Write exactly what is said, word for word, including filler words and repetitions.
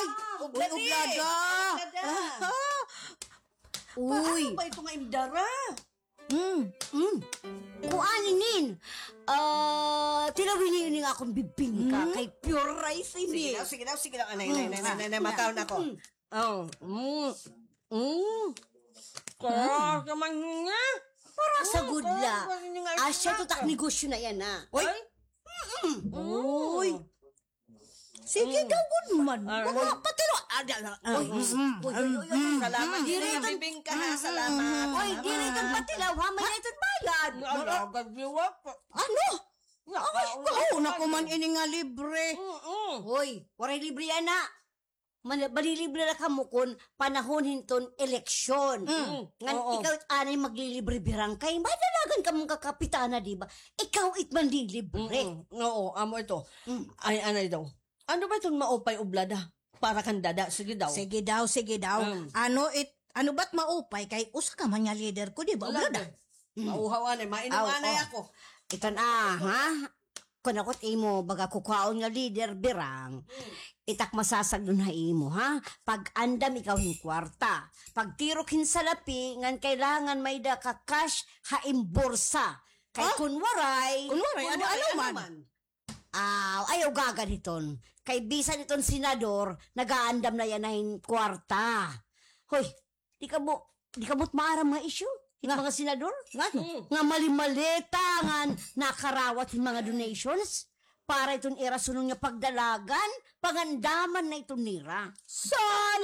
Ay, ah, uy, oblada. Oblada. Uy. Paano ba ito nga indara? Mm. Mm. Kuan inin. Ah, tilawin niyo ini nga akon bibingka kay pure rice ini. Sige daw, sige daw, sige daw. Anay, anay, anay, anay, anay, makaon ako. Mm. Oh, mm. Mm. Kaya naman nga. Para sa gudla. Asya to tak negosyo na yana. Oy. Mm. Uy. Sige daw, good man. Mga patilo. Ada na. Uy, uy, uy, uy, uy. Salamat. Diri iton bibingka, ha, salamat. Uy, diri iton patilaw, ha? May na iton bayad. Ano? Ay, kauna ko man ini nga libre. Uy, waray libre yana. Manlilibre la kamo kon panahon hin iton eleksyon. Ngan ikaw it anay maglilibre birang kay may dalagan kamo nga kapitana, di ba? Ikaw it manlilibre. Oo, amo ito. Ay, anay daw. Ano ba iton maupay oblada? Para kan dada, sige daw. Sige daw, sige daw. Ano it, ano ba't maupay kay usa ka man nga leader ko, di ba, oblada? Mauhaw anay, mainom anay ako. Iton, ah, ha? Kun ako it imo baga kukuhaon nga leader, birang, itak masasagdon ha imo, ha? Pag-andam ikaw hin kwarta. Pagtirok hin salapi, ngan kailangan may-ada ka cash ha im bursa. Kay kun waray, kun waray, ano man? Aw, ayaw gagan hiton. Kay bisan iton senador, nag-aandam na yana hin kwarta. Hoy, di kamo, di kamo maaram nga isyu? Nga mga senador? Nga? Nga mali-maleta nga nakarawat hin mga donations para iton ira sunod nga pagdalagan, pangandaman na iton nira. Sana